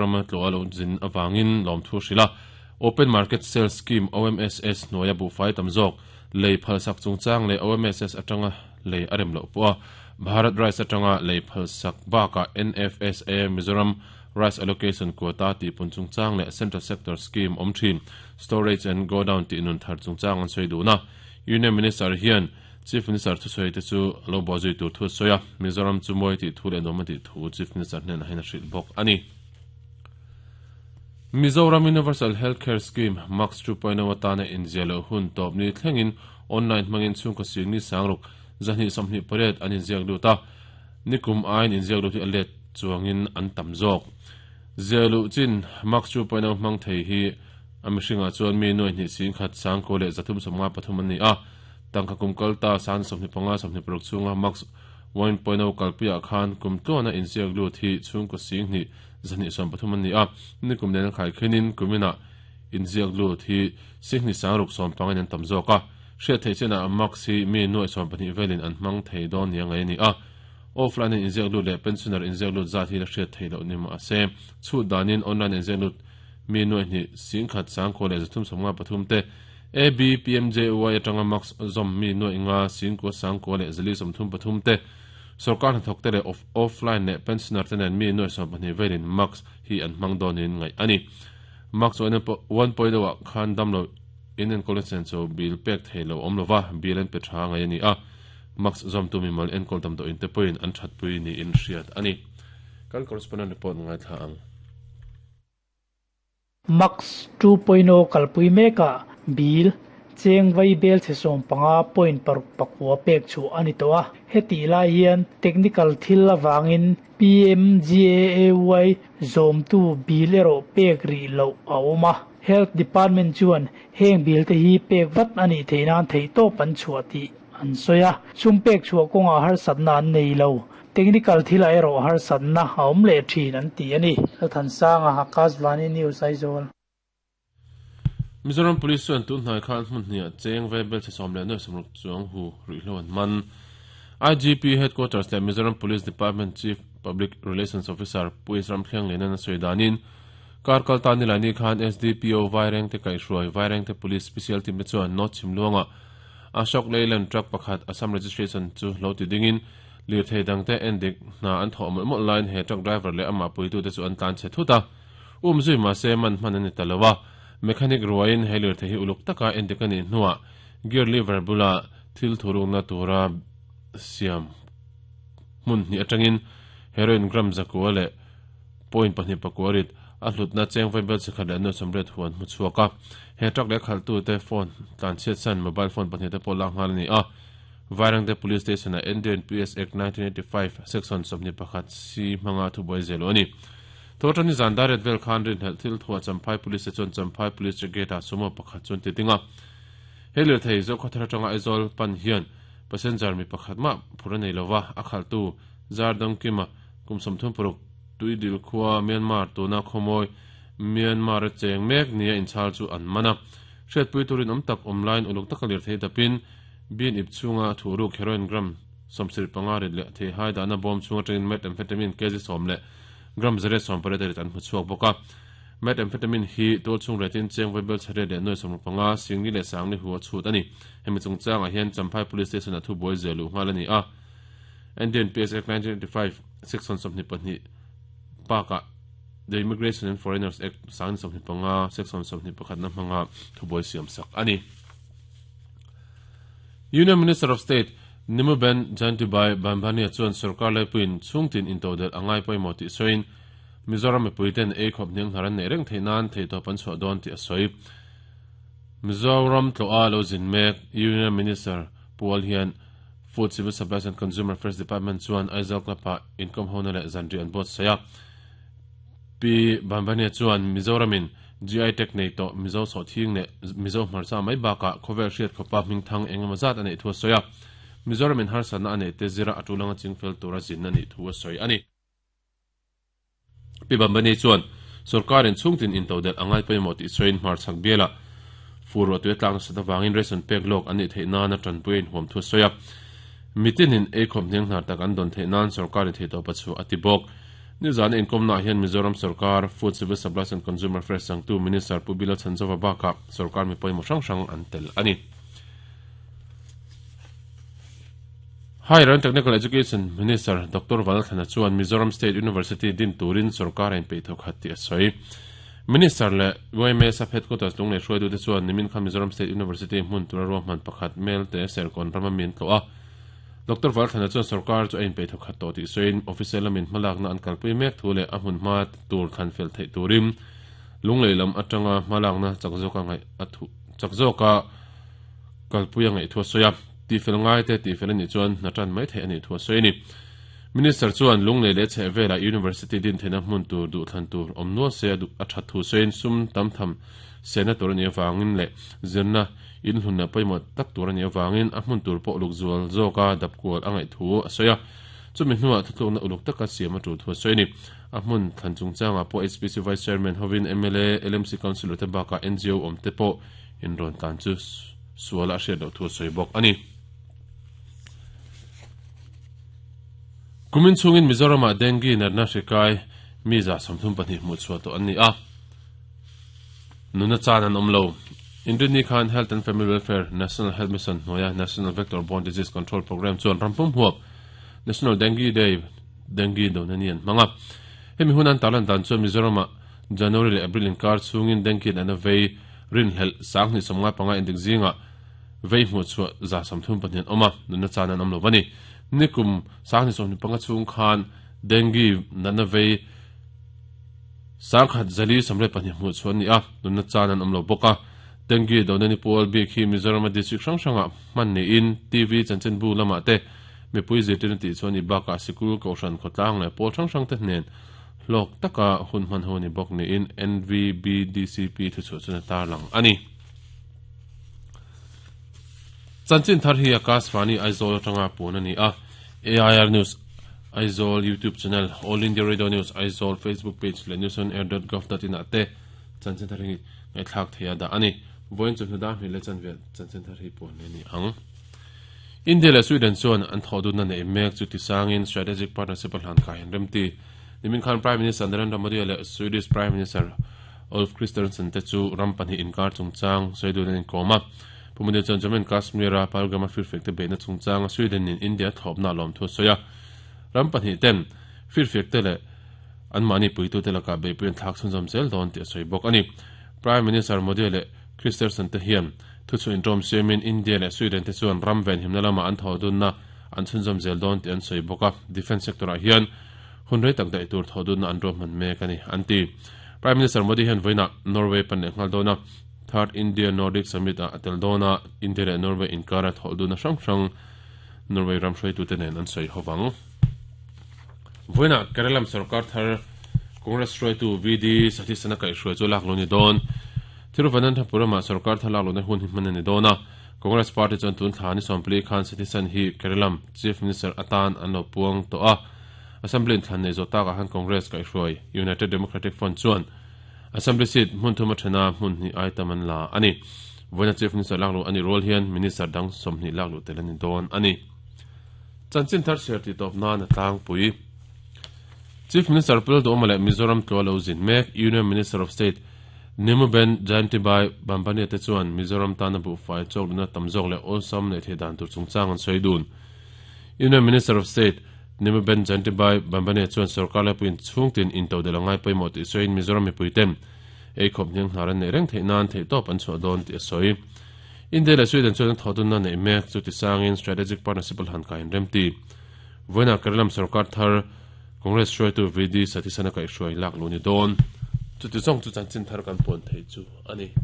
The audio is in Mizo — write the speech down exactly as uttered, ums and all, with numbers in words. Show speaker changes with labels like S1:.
S1: Mizoram tlo alo zin awangin lom thu hrila Open Market Sales Scheme O M S S hnuaia buhfai tam zawk lei phalsak chungchang leh O M S S atanga lei a rem loh pawh a Bharat Rice atanga lei phalsak bakah N F S A Mizoram Rice Allocation Quota tih pun chungchang leh Central Sector Scheme awm thin Storage and Go Down tih nun thar chungchang an sawi duhna Union Minister hian Chief Minister thusawi te chu lo bo zui tur thu sawi a Mizoram chu mawi tih thu leh nuam a tih thu Chief Minister hnenah hian a hrilh bawk a ni. Mizoram Universal Healthcare Scheme Max two point oh atana inziah loh hun tawp ni thlengin online hmangin chhungkaw sing ni sangruk zahnih sawmhnih pariat an inziak lut a nikum aiin inziak lut hi a let chuangin an tam zawk ziah luh chin Max two point oh hmang thei hi a mihringah chuan mi nuai hnih sing khat sangkaw leh zathum sawmnga pathum an ni a tangka kum kalta san sawmhnih panga sawmhnih paruk chhunga Max one point oh kalpuiah khan kum tluana inziak lut hi chhungkaw sing hnih zahnih sawm pathum an ni a nikum nen khai khenin kumina inziak lut hi singhni sangruk sawm pangin an tam zawk a hriat thei chenah Max hi mi nuai sawm pahnih velin an hmang thei dawn ni angai ani a offline in inziak lut leh pensioner inziak lut zat hi la hriat thei loh ni ma se chhut danin online inziak lut mi nuai hnih singkhat sangkaw leh zathum sawmnga pathum te A B P M J Y atanga Max zawm mi nuai nga singkaw sangkaw leh zali sawmthum pathum te sarkar hnathawk te leh offline leh pensioner te nen mi nuai sawm pahnih velin Max hi an hmang dawnin ngaih ani Max one point oh ah khan damlo in enkawl chen chu bill pek thei lo awm lova bill an pe tha ngai ani a Max zawm tu mi mal enkawl dam dawh in te pawhin an that pui ni in hriat ani kan correspondent report ngai thla ang
S2: Max two point oh kalpui meka bill cheng vai bel che som panga point paruk pakua pek chu ani to a heti lai hian technical thil awangin P M G A A Y zom tu bill ero pek ri lo a awma Health Department chuan heng bill te hi pek vat ani theinan thei to pan chua ti an soya chum pek chua konga har satna an nei lo technical thil a ero har satna a awm le thin an ti ani than sanga Akashvani News Aizawl.
S1: Mizoram Police chuan tun hnai khan hmun hniah cheng vai bel che sawm leh nuai sawmruk chuang hu ruihhlo an man I G P Headquarters leh Mizoram Police Department Chief Public Relations Officer Pu Isram Thliang Lenan a sawi danin kar kalta ni laini khan S D P O Vaireng te kaihhruai Vaireng te Police Special Team te chuan North Chhimluanga Ashok Leyland truck pakhat Assam registration chu lo ti dingin lir thei dangte endik hna an thawh mawlh mawlh laiin he truck driver leh amah puitu te chu an tlan che thut a um zui ma se man hman ani ta lo a mechanic ruain he lir thei hi uluk taka endik ani hnuah gear lever bula thil thurukna tura siam hmun hnih atangin heroin gram zakua leh point pahnih pakuarit a hlutna cheng vai bel chikhat leh nuai sawmriat huan hmu chhuak a he truck leh khaltu te phone tlan chhiat san mobile phone pahnih te pawh lak nghal ani a Vairengte Police Station a N D N P S Act nineteen eighty-five section sawmhnih pakhat C hmanga thubuai zel ani Thawtani zan daret vel khan rin helh thil thua Champhai Police te chuan Champhai Police check gate ah sumo pakhat chuan ti dinga he lir thei zo khawthar atanga Aizawl pan hian passenger mi pakhat ma phur nei lova a khaltu Zardang kima kum sawmthum paruk tuidil khua Myanmar tuna khawmawi Myanmar a cheng mek nia inchhal chu an mana hriatpui turin awm tak awm lain uluk taka lir thei dapin bin ip chunga thuruk heroin gram sawmsir panga rit leh thei hai dahna bawm chunga atangin methamphetamine kg sawm leh gram zare sawm pariat rit an hmu chhuak bawk a methamphetamine hi tual chhung retin cheng vai bel chhare leh nuai sawmruk panga singni leh sangni hu a chhut ani hemi chungchangah hian Champhai Police Station a thubuai zel luh nghal ani a N D N P S Act nineteen eighty-five section sawmhnih pahnih pakah The Immigration and Foreigners Act sangni sawmhnih panga section sawmhnih pakhatna hmanga thubuai siam sak ani Union Minister of State Nimuben Jayantibhai Bambhania chuan sarkar laipuiin chhungtin intodel angai pawimawh tih sawiin Mizoram mipuiten ei khawp hniang hnar an nei reng thei nan thei tawp an chhuah dawn tih a sawi Mizoram tloa lo zin mek Union Minister Pual hian Food Civil Supplies and Consumer Affairs Department chuan Aizawl Club-ah inkom hona leh zanri an buat sawi a Pi Bambhania chuan Mizoramin G I Tech nei tawh Mizo sawhthing leh Mizo hmarcha mai bakah khawvel hriat khawpa hming thang engemaw zat a neih thu a sawi a Mizoramin harsatna a neih te zira a tulanga chingfel tura zin a nih thu a sawi ani Pi Bambhania chuan sarkarin chhungtin intodel angai pawimawh tih sawiin hmarchhak biala fur ruah tui a tlak nasa avangin ration pek lawk an nih theih nan a tanpui a inhuam thu a sawi a mitinin ei khawp hniang hnar tak an dawn theih nan sarkarin thei tawp a chu a ti bawk Nizan inkomna hian Mizoram Sarkar Food Civil Supplies and Consumer Affairs sangtu Minister Pu Bila Chanzova baka Sarkar mi pawimawh hrang hrang an tel ani. Higher and Technical Education Minister Doctor Vanlalthlana chuan Mizoram State University din turin Sarkar in pei thawk hat ti a sawi. Minister le Y M A Sub Headquarters lunglei hruaitu te chuan nimin kha Mizoram State University hmun tura ruahman pakhat mel te serkawn rama min tlo a. Doctor Vanlalthlana chuan Sarkar chu a in pei thawk hat tawh tih sawiin official lamin hmalakna an kalpui mek thu leh a hmun hma tur thlan fel theih turin lunglei lam atanga hmalakna chak zawka ngaih a thu chak zawka kalpui a ngaih thu a sawi a. Ti fel ngai te ti fel ani chuan hna tan mai thei ani thu a sawi ni. Minister chuan lunglei leh chhehvela University din theihna hmun tur duh thlan tur awm nual se a that thu sawiin sum tam tham sena tur ani awangin leh zirna in hlunna pawimawh tak tur ani awangin a hmun tur pawh uluk zual zawka dap kual a ngaih thu a sawi a. Chumi hnuah thutlukna uluk taka siam a tul thu a sawi ni. A hmun thlan chungchangah pawh H P C Vice Chairman hovin M L A L M C Councillor te bakah N G O awm te pawh in rawn tlan chu sual a hriat loh thu a sawi bawk ani. Kumin chungin Mizorama dengue natna hrikai mi za sawmthum pahnih hmuh chhuah tawh an ni a. Nuna chan an awm lo. Indrini Khan Health and Family Welfare National Health Mission hnuaia National Vector Borne Disease Control Program chuan rampum huap National Dengue Day dengue dona ni an hmanga. Hemi hunan tarlan dan chuan Mizorama January leh April inkar chungin dengue natna vei rin hlel sanghnih sawmnga panga indik zinga vei hmuh chhuah za sawmthum pahnih an awm a. Nuna chan an awm lo ani. Nikum sanghnih sawmhnih panga chung khan dengue natna vei sangkhat zali samre pahnih hmuh chhuah ani a. Nuna chan an awm lo bawk a. Dengue dona ni pual bik hi Mizoram district hrang hranga hman niin T V chanchinbu lamah te mipui zirtirna tih chuan i bakah sikul kohhran khawtlang leh pawl hrang hrang te hnen hlawk taka hun hman ho ni bawk niin N V B D C P thuchhuah chuan a tarlang ani. Chanchin thar hi Akashvani Aizawl atanga pun ani a. A I R News Aizawl YouTube channel, All India Radio News Aizawl Facebook page leh news on air dot gov dot in ah te chanchin thar hi ngaihthlak theia dah ani. Voin chu hnuda hmel le chanve chanchin thar hi pun ani ang. India leh Sweden chuan an thawhdunna nei mek chu tisangin strategic partnership a hlan kai an remti. Nimin khan Prime Minister Narendra Modi leh Swedish Prime Minister Ulf Kristersson te chu ram pahnih inkar chungchang Sweden an inkawm a. Pu Modi chuan Jammu and Kashmir a Pahalgam a firfiak te beihna chungchang Sweden in India thawpna lawm thu a sawi a. Ram pahnih ten firfiak te leh an mahni puitu te lakah beihpui an thlak chhunzawm zel dawn tih a sawi bawk ani. Prime Minister Modi leh Kristersson te hian thuchhuah inṭawm siamin India leh Sweden te chuan ram ven himna lama an thawhdunna an chhunzawm zel dawn tih an sawi bawk a. Defence sector ah hian hun rei tak daih tur thawhdunna an ruahman mek ani an ti. Prime Minister Modi hian vawiinah Norway pan leh nghal dawn a. Third India Nordic Summit ah a tel dawn a. India leh Norway inkara thawhdunna hrang hrang Norway ram hruaitu te nen an sawi hovang. Vawiinah Kerala Sarkar thar Congress hruaitu V D Satheesan a kaihhruai chu lak lo ni dawn. Thiruvananthapuram Sarkar thar lak lohna hun hi hman ani dawn a. Congress Party chuan tun thla ni sawmpli khan Satheesan hi Kerala Chief Minister atan an lo puang tawh a. Assembly in thlan nei zawh takah han Congress kaihhruai United Democratic Front chuan Assembly seat hmun thum a thena hmun hnih ai tam an la ani. Vawiina Chief Minister lak lo ani rual hian Minister dang sawmhnih lak lo tel ani dawn ani. Chanchin thar share ti tawp nan a tlangpui. Chief Minister Pu Lalduhoma leh Mizoram tlua lo zin mek Union Minister of State Nimuben Jayantibai Bambania te chuan Mizoram tana buhfai chawkna tam zawk leh awlsam nei thei dan tur chungchang an sawi dun. Union Minister of State Nimuben Jayantibai Bambania chuan sarkar lapuiin chhungtin intodel a ngai pawimawh tih sawiin Mizoram mipuiten ei khawp hniang hnar an nei reng theih nan theih tawp an chhuah dawn tih a sawi. India leh Sweden chuan an thawhdunna nei mek chu tisangin strategic partnership a hlan kai an remti. Vawiinah Kerala sarkar thar Congress hruaitu V D Satheesan a kaihhruai lak lo ni dawn. Chuti zawng chu chanchin thar kan puan thei chu ani.